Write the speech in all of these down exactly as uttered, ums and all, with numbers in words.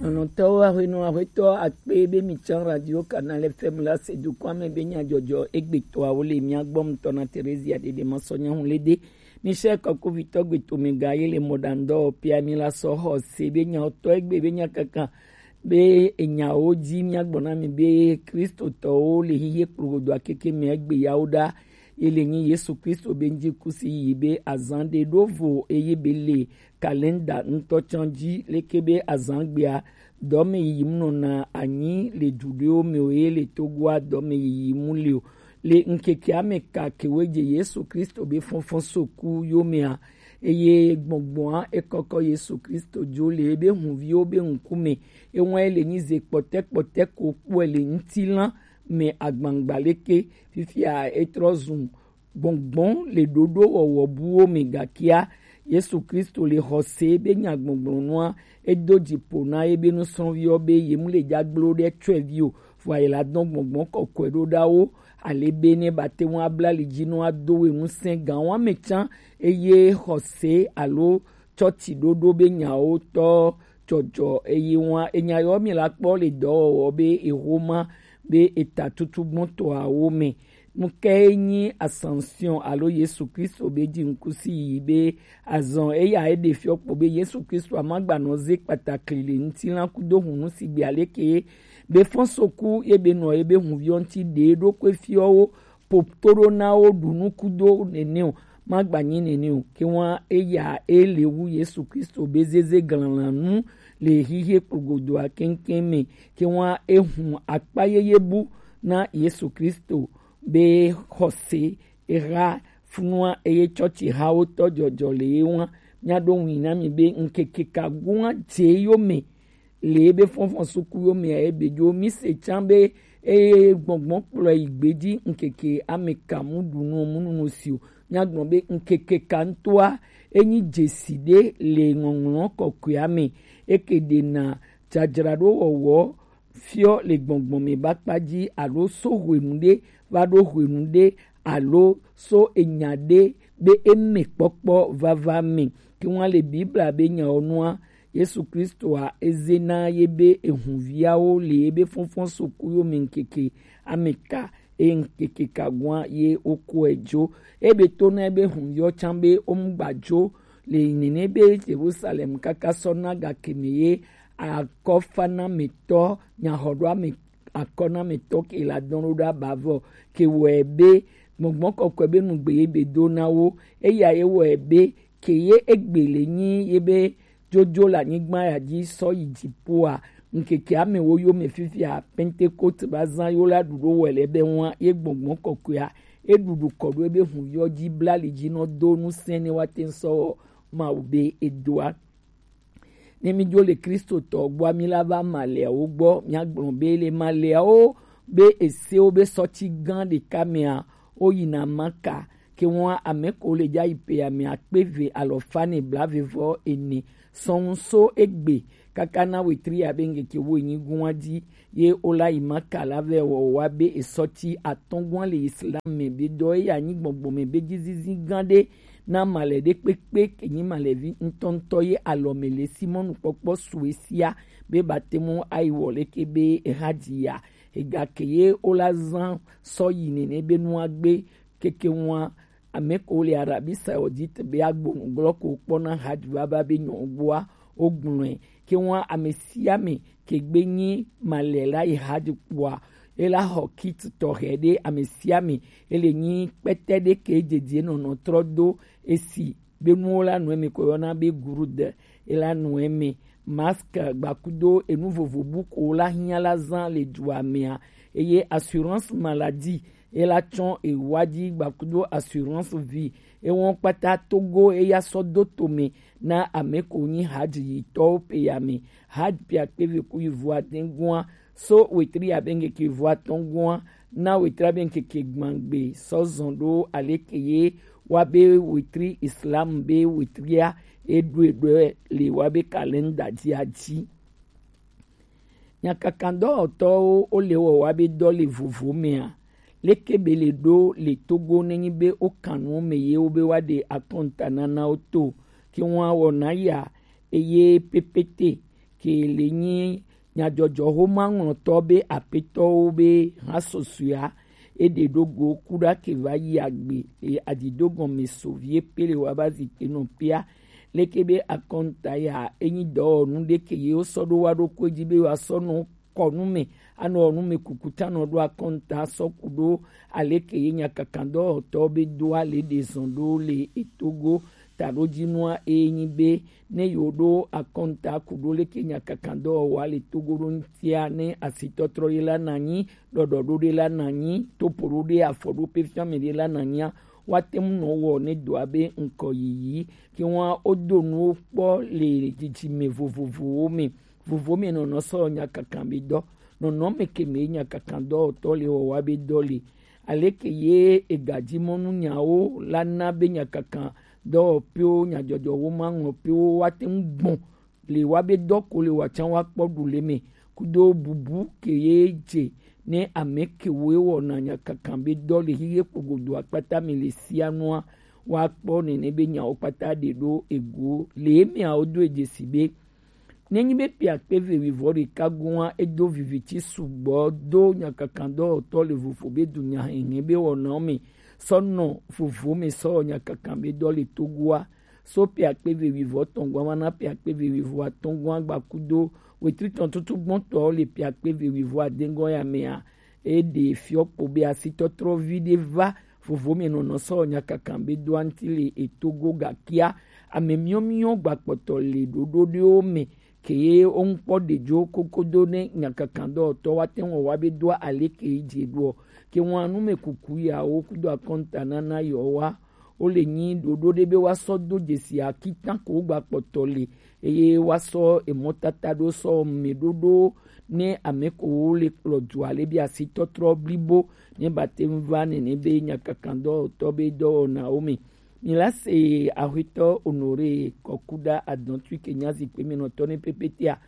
Lɔlɔ̃tɔwo, ahwenɔ, ahwetɔ akpe be mi tsã Radio Canal F M la se dukɔa me be nyadzɔdzɔ egbetɔawo le mia gbɔ. Ŋutɔ na Theresia Dede Masɔ Nyahulede, Michel Kɔkuvitɔ gbetome ga ye le mɔɖaŋdɔ pia mi la sɔ xɔ se be nyawo tɔ egbe be nya kaka be enyawo dzi míagblɔ na mi be Kristotɔwo le xixie kplogodoa keke me egbe yawo ɖa. Ye le nyi Yesu Kristo be ŋdzi kusi yi be azan ɖe ɖo vo eye be le kalenda ŋutɔ tsã dzi leke be azan gbea dɔme yiyim nɔna anyi le du ɖewo me o, ye le Togoa dɔme yiyim le o. Le ŋkekea me ka kewe dze Yesu Kristo be fɔnfɔn soku yo mea, eye gbɔngbɔa ekɔkɔ Yesu Kristo dzo le ebe hunviwo be ŋkume. Ewa ele nyi ze kpɔtɛ kpɔtɛ ko kpɔe le ŋutilã me agbangba leke. Fifia etrɔ zu gbɔngbɔn le ɖoɖo wɔwɔ buwo me, gakea Yesu Kristo le xɔse be nyagbɔgblɔnua edo dziƒo na ebe nusrɔ̃viwo be yemu le dzagblo ɖe tsɔevi o, vɔa yela dɔn gbɔngbɔn kɔkɔe ɖo ɖa wo, ale be ne ba te ŋu abla li dzi nɔ ado we ŋusẽ gã wa me tsã, eye xɔse alo tsɔtsi ɖoɖo be nyawo tɔ dzɔdzɔ eye wa enya yɔ mi la kpɔ le dɔwɔwɔ be eho ma be eta tutu gbɔntɔawo me. Nu kae nyi Ascension alo Yesu Kristo be dzi ŋkusi yi be azɔn eya eɖe fiɔ kpo be Yesu Kristo amagbanɔ ze kpatakli le ŋutilã kudo hunu sigbe aleke be fɔnsoku ye be nɔ ye be hunviɔ ŋuti ɖe ɖo kpe fiɔwo po to ɖo na wo ɖu nu kudo nene o, magbanyi nene o. Ke wa eya ele wu Yesu Kristo be zeze glalanu le xixie kplogodoa keŋkeŋ me. Ke wa ehun akpa yeye bu na Yesu Kristo be xɔse eha funua eye tsɔtsi hawo tɔ dzɔdzɔ le ye wa. Mia ɖo ŋui na mi be ŋkeke ka gua dze yo me le ebe fɔnfɔn suku yo mea ebe dzo mi se tsã be eye gbɔngbɔn kplɔ yi gbeji ŋkeke ame ka mu ɖu nu mu nunu si o. Mia gblɔ be ŋkeke ka ŋutɔa enyi dzesi ɖe le ŋɔŋlɔ kɔkɔea me, eke ɖena dzadzraɖo wɔwɔ fiɔ le gbɔngbɔn me ba kpa dzi alo so hwenu ɖe va ɖo hwenu ɖe alo so enya ɖe be eme kpɔkpɔ vava me. Ke ŋua le Biblia be nyawo nua Yesu Kristoa eze na ye be ehunviawo le ebe fɔnfɔn soku yo me ŋkeke ame ka eye ŋkeke ka gua ye wokɔe dzo. Ebe to na ebe hunviɔ tsã be womgba dzo le nene be Jerusalem kaka sɔ na gakeme ye akɔfanametɔ nyaxɔɖoame akɔnametɔ ke la dɔn ɖo ɖa bavɔ ke wɔe be gbɔngbɔn kɔkɔe be nugbe ye be do na wo. Eya ye wɔe be ke ye egbe le nyi ye be jojo le anyigba ya dzi sɔ yi dziƒoa, ŋkeke amewo yome fifia Pentekote va zã yo la ɖuɖo wɔe le be ŋua ye gbɔngbɔn kɔkɔea eɖuɖu kɔ ɖo ebe hun yɔ dzi bla li dzi nɔ do ŋusẽ ne woate ŋu sɔ wɔ Mawu be edoa. Ne mi dzo le Kristotɔ gbɔa, mi la va maleawo gbɔ, miagblɔ be le maleawo be esewo be sɔti gã ɖeka mea, woyina Maka. Ke ŋua ame ko le dza yi pe ame akpe eve alɔfa ne blaeve vɔ ene sɔŋ so egbe kaka na wetri abe ŋkeke wo enyi gua dzi ye wola yi Maka la vɛ wɔ wa be esɔti atɔ̃ gua le Islam me be dɔ eya nyi gbɔgbɔ me be dzizizi gã ɖe na male ɖe kpekpe ke nyi malevi ŋutɔŋutɔ ye alɔ me le Simɔnu kpɔkpɔ sue sia be bate mu ayi wɔ leke be eha dzi ya. Egake ye wola zã sɔ yi nene be nua gbe keke ŋua ame ko le Arabie Saoudite be agbonu glɔ ko kpɔna hajj vava be nyɔ gbɔa wogblɔe. Ke ŋua ame sia ame ke gbe nyi male la yi hajj kpɔa, ela xɔ kit tɔxɛ ɖe ame sia ame. Ele nyi kpɛtɛ ɖe ke dzedze nɔnɔ trɔ do esi be nuwo la nɔ eme ko yɔna be gurud, ela nɔ eme. Masque gbakudo enu vovo bu ko la hiã la zã le dua mea, eye assurance maladie ela tsɔ ewa dzi gbakudo assurance vie. Ewɔn kpata Togo eya sɔ do tome na ame ko nyi hajj yitɔwo pe ya me. Hajj pia kpeve ku yi vua dengua so wetri abe ŋkeke vua tɔngua na wetri abe ŋkeke gbangbe sɔ zɔn ɖo aleke ye wa be wetri Islam be wetria eɖo eɖo le wa be kalenda dzi adzi. Nyakakadɔwɔtɔwo wo le wɔ wa be dɔ le vovo mea? Leke be le ɖo le Togo nenyi be wo kan nuwo me ye wo be wa ɖe akɔnta nana wo to? Ke ŋua wɔna ya eye pepete ke le nyi nyajɔjɔxomaŋlɔtɔ be apetɔwo be hã susua, e ɖe ɖo go kuɖa ke va yi agbe, e aɖiɖo gɔme so vie pe le wa ba zi te nɔ pia. Leke be akɔnta ya, e nyi dɔwɔnu ɖe ke ye wo sɔ ɖo wa ɖokui ji be wa sɔ nɔ kɔ nu me, anɔ nu me kuku ta nɔ ɖo akɔnta sɔ ku ɖo aleke ye nyakakandɔwɔtɔ be do ale ɖe zɔn ɖo le etogo taɖojinua e nyi be ne yewo ɖo akɔnta ku ɖo leke nyakakandɔwɔwɔa le togo ɖo ŋutia ne asitɔtrɔ ɖe la na nyi, ɖɔɖɔɖo ɖe la na nyi, topoɖo ɖe afɔɖoƒe fiame ɖe la na nyia, woate ŋu nɔ wɔ ne dɔa be ŋkɔ yiyi ke ŋua wodo nuwo kpɔ le dzidzime vovovowo me. Vovo me nɔnɔ sɔ nyakakan be dɔ. Nɔnɔ me ke me nyakakan dɔwɔtɔ le wɔwa be dɔ le. Aleke ye egadzimɔnu nyawo la na be nyakakan dɔwɔƒewo, nyadzɔdzɔwo ma ŋlɔ ƒewo woate ŋu gbɔn le wa be dɔ ko le wa tsã wa kpɔ ɖu le me kudo bubu ke ye dze ne ame kewo wɔna nyakakan be dɔ le hihe kpogodo akpata me le sia nua wa kpɔ nene be nyawo kpata ɖe ɖo ego le emeawo do edze si be Nenyi be ƒe akpe eve wuievɔ ɖeka goa edo viviti sugbɔ do nyakakandɔwɔtɔ le vovo be dunya hɛhɛ be wɔnawo me sɔ nɔ vovo me sɔ wɔ nyakakan be dɔ le Togoa. So ƒe akpe eve wuievɔ tɔn goa va na ƒe akpe eve wuievɔ atɔn goa gba kudo wetri tɔn tutu gbɔntɔ le ƒe akpe eve wuievɔ ade goa ya mea, e ɖe fiɔ kpo be asitɔtrɔ vi ɖe va vovo me nɔnɔ sɔ nyakakan be do anti le etogo gakia ame miɔ miɔ gbakpɔtɔ le ɖoɖo ɖewo me ke ye wo ŋkpɔ ɖe dzo kokodo ne nyakakan dɔwɔtɔ wa te wɔ wa be doa ale ke yi dze ɖoɔ ke wɔn anu me kuku yawo kudo akɔnta nana yɔ wa wo le nyi ɖoɖo ɖe be wa sɔ do dzesi akitan ko wo gbakpɔtɔ le eye wa sɔ emɔtata ɖo sɔ me ɖoɖo ne ame ko wo le kplɔ dua le be asitɔtrɔ blibo ne ba te ŋu va nene be nyakakan dɔwɔtɔ be dɔwɔnawo me. Mi la se Aƒetɔ Honoré Kɔkuɖa Adɔntui ke nya zikpui me nɔtɔ ne pepetea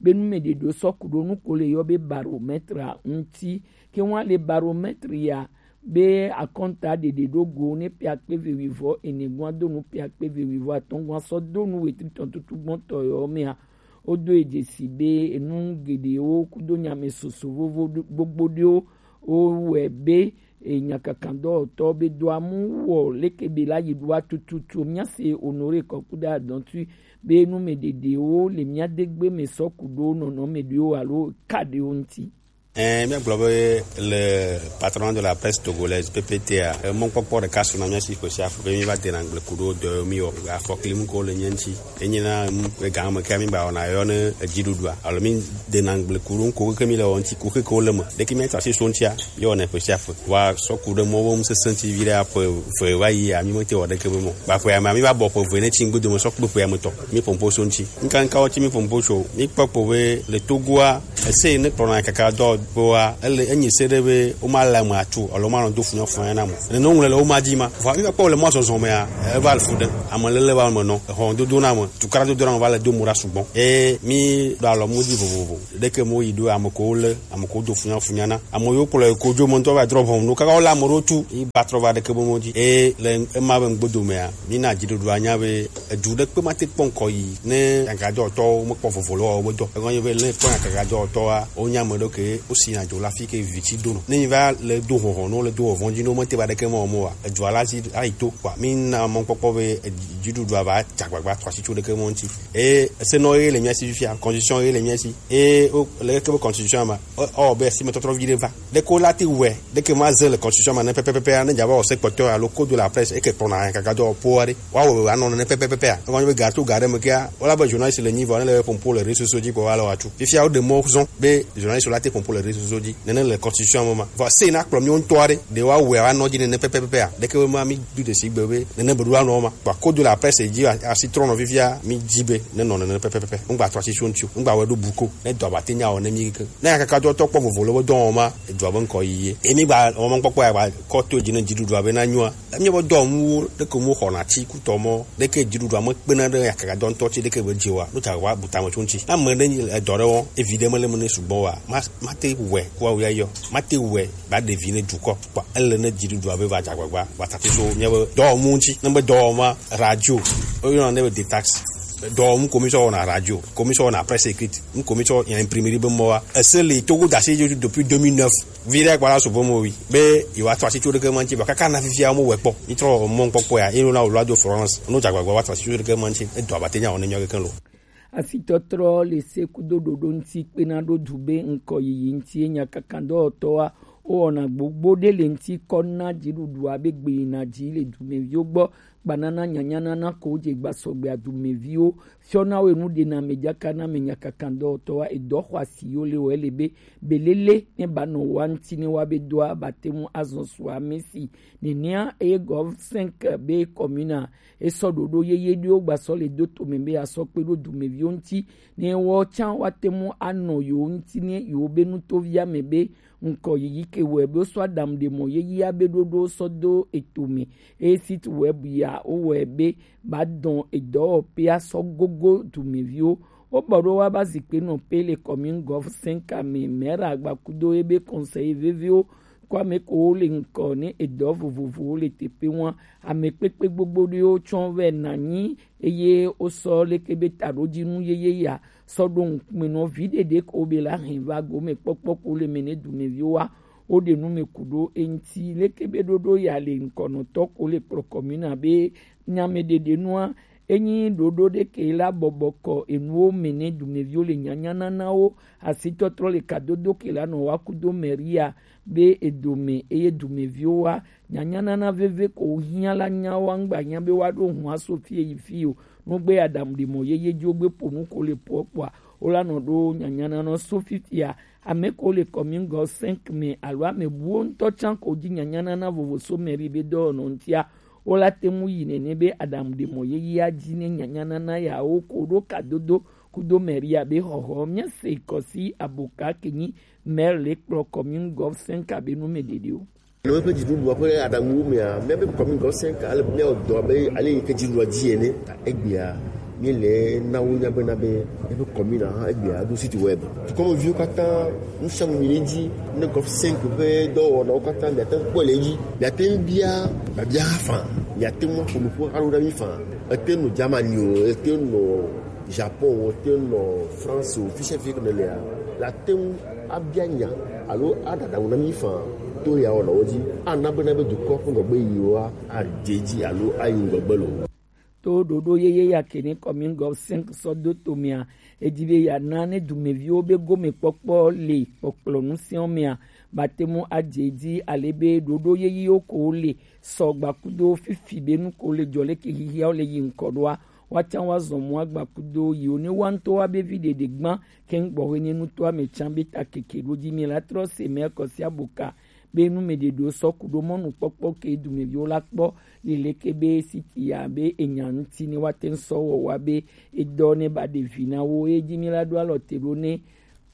be nu me ɖe ɖo sɔ ku ɖo nu ko le yɔ be baromètre ŋuti ke wa le baromètre ya be akɔnta ɖeɖe ɖo go ne ƒe akpe eve wuievɔ ene gɔa do nu ƒe akpe eve wuievɔ atɔn gɔa sɔ do nu wetri tɔn tutu gbɔntɔ yɔ mea. Wodo edze si be enu geɖewo kudo nyame soso vovo ɖo- gbogbo ɖewo wowɔe be e, nyakakan dɔwɔtɔ be do amu wɔ leke be la yi ɖoa tututu mía se Honoré Kɔkuɖa Adɔntui be nu me ɖeɖewo le mía degbe me sɔ ku ɖo nɔnɔ me ɖewo alo ka ɖewo ŋuti. Ɛɛ, míagblɔ be le Patronat de la Presse Togolaise, P P T a, mɔkpɔkpɔ ɖeka suna mía si ƒe sia ƒe be mí va dena gble ku ɖo dɔ mi wɔ afɔkli mu ko le nye ŋuti. Enye na mu le gã me ke mi ba wɔna yɔ ne edziɖuɖua. Alo mi dena gble ku ɖo ŋko ke mi le wɔ ŋuti ku ke ko le me. Ɖeke mi ta si so ŋutia, mi wɔna ƒe sia ƒe. Wa sɔ ku ɖe mɔ wo mu sese ŋuti vi ɖe aƒe ve va yi a mi me te wɔ ɖeke be mɔ. Ba ƒe ame mi va bɔ ƒe ve ne tsi ŋgbe dome sɔ kpe ƒe ame tɔ. Mi pompo so ŋuti. Nka nka wo tsi mi pompo tso. Mi kpɔ kpo be le Togoa Ese yi ne kplɔna kaka dɔ kpoa ele enyi se ɖe be woma le ame atu alo ma nɔ do funyɔ funyɔ na mo. Nene ŋlɔ le woma dzi ma. Vɔ mi kpɔ le mɔ zɔzɔ mea, eva le fu ɖe. Ame lele va me nɔ, exɔ dodo na me, tukara dodo na me va le do mo ɖa sugbɔ. E mi ɖo alɔ mu di vovovo. Ɖeke mo yi ɖo ame ko le, ame ko do funyɔ funyɔ na. Ame yo kplɔ ko dzo mo ŋutɔ va drɔ bɔm no kaka wo le ame ɖo tu, yi ba trɔ va ɖeke bo mo dzi. E le ema be ŋgbodo mea, mi na dziɖuɖu anya be Edu ɖe kpe ma te kpɔ ŋkɔ yi ne nyagajɔtɔwo mekpɔ vovo le wɔwɔ be dɔ. Egɔnye be ne kpɔ nyagajɔtɔa, wonya ame ɖewo ke wosi nya dzo le afi ke vi tsi do nɔ. Ne nyi va le do hɔhɔ, ne le do hɔhɔ dzi, ne womete va ɖeke me wɔm oa, edua la si ayi to kpɔa. Mi na mɔkpɔkpɔ be dziɖuɖua va dze agbagba tɔ asi tso ɖeke mɔ ŋuti. Eye esenɔ ye le mía si fifia, constitution ye le mía si. Eye wo le ke be constitution ma, ɔ be esi me tɔtrɔ vi ɖe va. Ɖeke wo la te wɔe, ɖeke ma ze le constitution ma ne pɛpɛpɛpɛ ne dza va wɔ se kpɔtɔ alo code de la presse eke kplɔna kaka dɔ po aɖe. Wa wɔ anɔ ne pɛpɛpɛpɛ a. Ema be ga to ga ɖe me kea, wala be journaliste le nyi vɔ ne le pompo le réseaux sociaux dzi kpɔ wa le wa tu. Fifia wo de mɔ zɔn be journaliste la te pompo le réseaux sociaux dzi. Nene le constitution me ma. Vɔ se na kplɔ mi ŋutɔ aɖe. De wa wɔe wa nɔ dzi nene pɛpɛpɛpɛ a. Ɖeke be ma mi du de si gbe be nene be ɖo anɔ ma. Vɔ code de la presse dzi asi trɔ nɔ fifia mi dzi be ne nɔ nene pɛpɛpɛpɛ. Ŋgba trɔ asi so ŋuti o. Ŋgba wɛ ɖo bu ko. Ne dɔ ba te nya wɔ ne mi ke. Ne akaka dɔ tɔ kpɔ vovo le be dɔ wɔma, edua be ŋkɔ yi ye. Emi gba wɔma kpɔkpɔ ya gba kɔ to dzi ne dziɖuɖua be na nyua. Emi be dɔ mu ɖe ko mu xɔna tsi kutɔ mɔ, ɖe ke dziɖuɖua me kpena ɖe akaka dɔ ŋutɔ tsi ɖe ke be dzi wa. No ta wa buta me tso ŋuti. Ame ɖe nyi edɔ ɖe wɔ, evi ɖe me le me ne sugbɔ wa. Ma, ma te wɛ, ko awu ya yɔ. Ma te wɛ, ba ɖevi ne dukɔ. Kpa, ele ne dziɖuɖua be va dza gbagba, va tati so, mia be dɔ mu ŋuti. Ne be dɔ wɔma, radio, o yɔ ne be detax. Dɔ mu commission wɔna radio, commission wɔna presse écrite, mu commission ya imprimerie be mɔ wa. Ese le Togo dasi jo depuis deux mille neuf. Vire kpala so bomo wi. Be yo ato asi tso ɖeke ma ŋuti ba kaka na fifia mo wekpɔ. Mi trɔ mo ŋkpɔkpɔ ya, ino na wòlɔ ado Florence. No dzagbagba wa to asi tso ɖeke ma ŋuti. Edo abate nya wɔne nyɔ keke lo. Asitɔtrɔ le se kudo ɖoɖo ŋuti kpena ɖo du be ŋkɔ yiyi ŋuti enya kaka dɔwɔtɔwa wowɔna gbogbo ɖe le ŋuti kɔ na dziɖuɖua be gbe yina dzi le dumeviwo gbɔ. Gbanana nyanyanana ko dze gbasɔgbea dumeviwo fiɔna wo enu ɖena me dzaka na me nyakaka dɔwɔtɔwa edɔ xɔ asi yo le wɔ ele be belele ne ba nɔ wa ŋuti ne wa be doa ba te ŋu azɔ su ame si nenea eye gov cinq be commune esɔ ɖoɖo yeye ɖewo gbasɔ le do tome be asɔ kpe ɖo dumeviwo ŋuti ne wɔ tsã wa te ŋu anɔ yewo ŋuti ne yewo be nutovia me be ŋkɔ yiyi ke wɔe be wosɔ aɖaŋu ɖe mɔ yeyea be ɖoɖo sɔ do eto me. Eye site web ya wowɔe be ba dɔn edɔwɔƒea sɔ gogo dumeviwo. Wobɔ ɖo wa ba zikpe nɔ pe le commune gov cinq me, maire agbakudo ebe conseil veviwo kɔ ame ko le ŋkɔ ne edɔ vovovowo le teƒe ŋua. Ame kpekpe gbogbo ɖewo tsɔ vɛ nanyi eye wosɔ leke be taɖodzinu yeye ya sɔ ɖo ŋkume nɔ vi ɖeɖe ko be la hɛn va gome kpɔkpɔ ko le me ne dumeviwoa. Woɖe nu me ku ɖo eŋti leke be ɖoɖo ya le ŋkɔnɔtɔ ko le kplɔ kɔmina be nyame ɖeɖe nua enyi ɖoɖo ɖe ke la bɔbɔ kɔ enuwo me ne dumeviwo le nyanyananawo asitɔtrɔ le kadodo ke la nɔ wa kudo mɛria be edome eye dumeviwo wa nyanyanana veve ko hiã la nya wa ŋgba hiã be wa ɖo hua so fie yi fio nugbe aɖaŋu ɖe mɔ yeye dzo gbe ƒo nu ko le poɔ kpɔa wo la nɔ ɖo nyanyanana so fifia. Ame ko le commune gɔ cinq me alo ame buwo ŋutɔ tsã ko dzi nyanyanana vovo so mɛri be dɔwɔnɔ ŋutia wo la te ŋu yi nene be aɖaŋu ɖe mɔ yeyea dzi ne nyanyanana yawo ko ɖo kadodo kudo mɛria be xɔxɔ míase kɔsi aboka ke nyi mɛri le kplɔ commune gɔ cinq abe nu me ɖeɖewo. Le woƒe dziɖuɖua ƒe aɖaŋuwo mea, míabe kɔmi gɔsẽ ka ale míawɔ dɔ abe ale yi ke dziɖuɖua dzi ene. Egbea míele na wo nya bena be míaƒe kɔmina hã egbea ɖo site web. Dukɔmeviwo katã nu sia nu yi ɖe edzi ne gɔf cinq ƒe dɔwɔnawo katã miate ŋu kpɔe le edzi. Miate ŋu bia biabia hã faa. Miate ŋu aƒo nuƒo alo na mí faa. Ete ŋu nɔ Germany o, ete ŋu nɔ Japon o, ete ŋu nɔ France o, fi sia fi ke nèlea, la te ŋu abia nya alo aɖaɖa ŋu na mí faa to ya wɔnawo dzi. Ana bena be dukɔ ƒe ŋgɔgbe yiyiwa adze edzi alo ayi ŋgɔgbe loo. To ɖoɖo yeye ya ke ne commune gov cinq sɔ do tomea, edi be yeana ne dumeviwo be gomekpɔkpɔ le kpɔkplɔ ŋusẽwo mea, bate ŋu adze edzi ale be ɖoɖo yeyewo ko le sɔ gbakudo fifi be nu ko le dzɔ leke hihiawo le yi ŋkɔ ɖoa, woatsã woazɔ mɔ agbakudo yiwo ne woa ŋutɔ woabe vi ɖeɖe gbã keŋ gbɔxwe ne nutoa me tsã be ta keke ɖo dzi mi la trɔ se mɛ kɔsia boka be nu me ɖeɖewo sɔ ku ɖo mɔnukpɔkpɔ ke dumeviwo la kpɔ leleke be siti ya be enya ŋuti ne woate ŋu sɔ wɔ wa be edɔ ne ba ɖe vi na wo eye dzi mi la ɖo alɔ te ɖo ne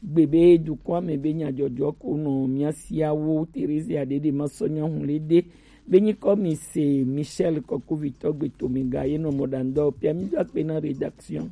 gbe be dukɔa me be nyadzɔdzɔ ko nɔ mía siawo Teresia ɖeɖe ma sɔ nya hu le ɖe be nyikɔ mi se Michel Kɔkovitɔ gbe tome ga ye nɔ mɔ ɖandɔ pia mi do akpe na rédaction.